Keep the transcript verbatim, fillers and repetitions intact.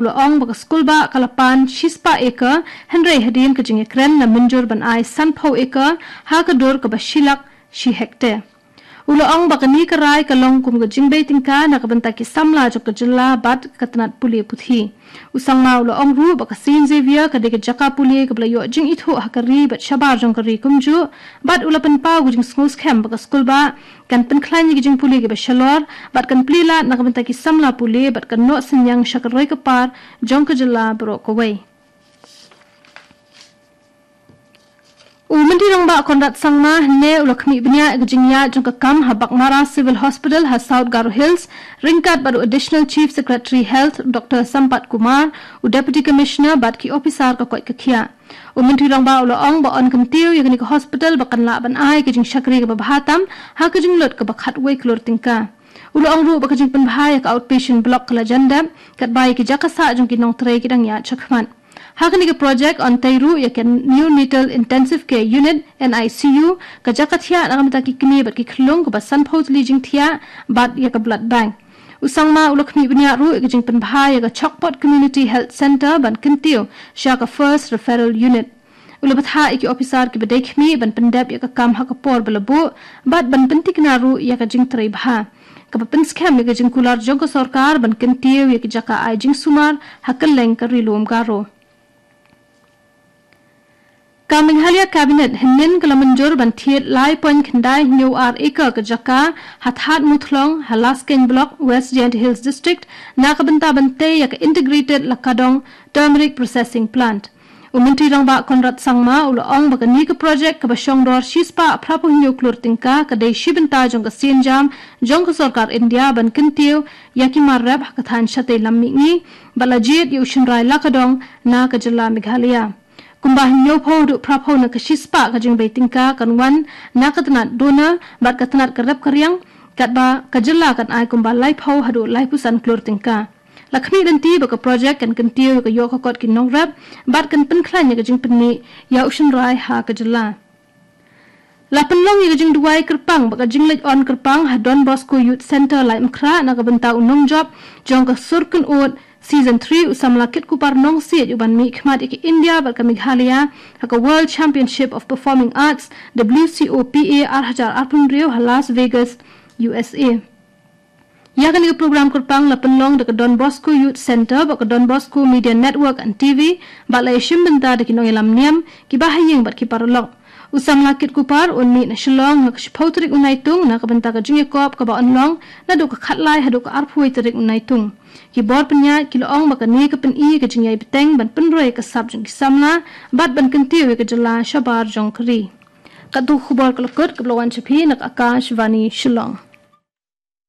U la ong ba ka skulbah ka la pan shispah acre, hynrei hadien ka jingïakren la mynjur ban ai sanphew acre, ha ka dur kaba shilak shi hektar. U la ong ba kane ka rai ka long kum ka jingbei tyngka na ka bynta ki samla jong ka jylla bad ka tnat pule puthi. U Sangma u la ong ruh ba ka Saint Xavier ka dei ka jaka pule kaba la ïoh jingithuh ha ka ri bad shabar jong ka ri kumjuh, bad u la pynpaw ka jingsngewskhem ba ka skulbah kan pynkhlaiñ ïa ka jingpule kaba shalor, bad kan plie lad na ka bynta ki samla pule, bad kan noh synñiang sha ka roi ka par jong ka jylla baroh kawei. U Myntri Rangbah Conrad Sangma hynne u la khmih bniah ïa ka jingïaid jong ka kam ha Baghmara Civil Hospital ha South Garo Hills, ryngkat bad u Additional Chief Secretary Health Doctor Sampat Kumar, u Deputy Commissioner bad ki ophisar ka koit ka khiah. U Myntri Rangbah u la ong ba yn kyntiew ïa kane ka hospital ba kan lah ban ai ka jingshakri kaba bha tam, ha ka jinglut kaba khatwei klur tyngka. U la ong ruh ba ka jingpynbha ïa ka outpatient block ka la jan dep, katba ïa ki jaka sah jong ki nongtrei ki dang ïaid shakhmat. Ha kane ka project yn tei ruh ïa ka Neonatal Intensive Care Unit, N I C U, ka jaka thiah na ka bynta ki kmie bad ki khyllung kaba sanphew tylli jingthiah, bad ïa ka blood bank. U Sangma u la khmih bniah ruh ïa ka jingpynbha ïa ka Chokpot Community Health Centre ban kyntiew sha ka First Referral Unit. U la bthah ïa ki ophisar kiba dei khmih ban pyndep ïa ka kam ha ka por ba la buh, bad ban pyntikna ruh ïa ka jingtrei bha, kaba pynskhem ïa ka jingkular jong ka sorkar ban kyntiew ïa ki jaka ai jingsumar ha kylleng ka Ri Lum Garo. Ka Meghalaya Cabinet hynnin ka la mynjur ban thied lai point khyndai hynñiew ar acre ka jaka ha Thadmuthlong ha Laskeiñ Block, West Jaintia Hills District, na ka bynta ban tei ïa ka Integrated Lakadong Turmeric Processing Plant. U Myntri Rangbah Conrad Sangma u la ong ba kane ka project kaba shongdor shispah phraphew hynñiew klur tyngka ka dei shi bynta jong ka sienjam jong ka sorkar India ban kyntiew ïa ki mar rep ha ka thaiñ shatei lam mihngi, bad la jied ïa u shynrai lakadong na ka jylla Meghalaya. Kumba hynñiewphew haduh phraphew na ka shispah ka jingbei tyngka kan wan na ka tnat donor bad ka tnat ka rep ka riang, katba ka jylla kan ai kumba laiphew haduh laiphew san klur tyngka. La khmih lynti ba ka project kan kyntiew ïa ka ïoh ka kot ki nongrep, bad kan pynkhlaiñ ïa ka jingpynmih ïa u shynrai ha ka jylla. La pynlong ïa ka jingduwai kyrpang bad ka jingleit on kyrpang ha Don Bosco Youth Centre Laitumkhrah na ka bynta u nongjop jong ka Sur Kynnoh Season three, u samla Kitkupar Nongsiej, u ban mihkhmat ïa ka India bad ka Meghalaya ha ka World Championship of Performing Arts, W C O P A, ar hajar arphew hynriew ha Las Vegas, U S A. Ïa kane ka program kyrpang la pynlong da ka Don Bosco Youth Centre bad ka Don Bosco Media Network and T V, bad la ïashim bynta da ki nongïalam niam, ki bahaïing bad ki paralok. U samla Kitkupar un mih na Shillong ha ka shiphew tarik u Naitung na ka bynta ka jingïakop kaba yn long naduh ka khatlai haduh ka arphew wei tarik u Naitung. Ki bor pynïaid ki la ong ba kane ka pyni ka jingïai bteng ban pynroi ka sap jong ki samla, bad ban kyntiew ïa ka jylla shabar jong ka ri. Katto ka khubor ka la kut, kaba la wan sha phi na ka Akashvani Shillong.